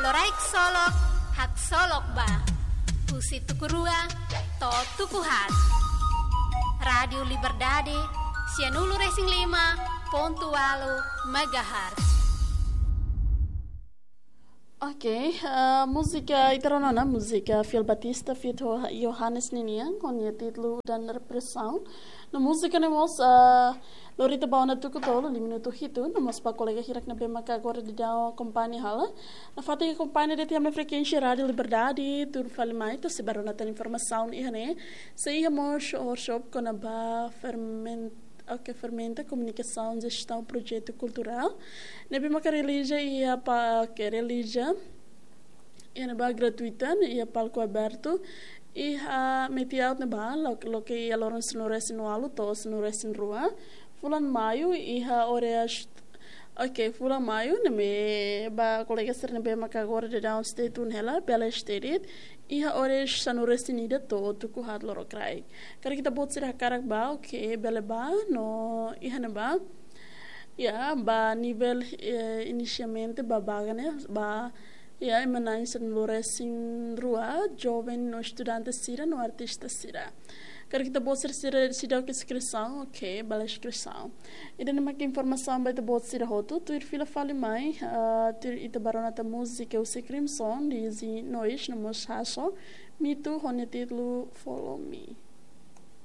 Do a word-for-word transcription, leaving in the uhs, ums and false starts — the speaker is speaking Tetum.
Loraik Solok, Haksolok Ba. Husi tuku rua to'o tuku haat. Rádiu Liberdade, sianulu-resin-lima pontu ualu megahertz. Ok, eh, múzika ita rona ona, múzika Phil Batista feat Johannes ninian, ho nia títulu Udan Represaun. No múzika ne'e mós, eh, lori ita ba ona tuku tolu, lima minutu hitu, no mós ba kolega hirak ne'ebé maka agora daudaun akompaña hela. Nafatin akompaña de'it iha ami-nia frekuénsia Rádiu Liberdade, tuir fali mai, atu sei bá rona tan informasaun iha ne'e. Sei iha mós workshop kona-ba ferment-, ok, fermenta komunikasaun jestaun projetu kulturál. Ne'ebé maka realiza iha pa, ok, realiza iha ne'ebá gratuita, iha palku abertu. Iha metin out ne'ebá, lo-, loke iha loron sanulu-resin-ualu to'o sanulu-resin-rua fulan Maiu, iha oras, ok, fulan Maiu, ne'ebé ba kolega sira ne'ebé maka agora daudaun stay tune hela, bele stay de'it, iha oras sanulu-resin-ida to'o tuku haat lorokraik. Karik ita-boot sira hakarak bá, ok, bele bá, no iha ne'ebá. Ya, ba nivel, eh, inisialmente ba vaga ne'e, ba, ya, ema na'in sanulu-resin-rua, joven no estudante sira no artista sira. Karik ita-boot sira, sira seidauk inskrisaun, ok, bele inskrisaun. Ida-ne'e mak informasaun ba ita-boot sira hotu, tuir fila fali mai, ah, tuir ita bá rona tan múzika husi Crimson, Dizzy Noise, no mós Hasso, Mitu, ho nia títulu Follow Me.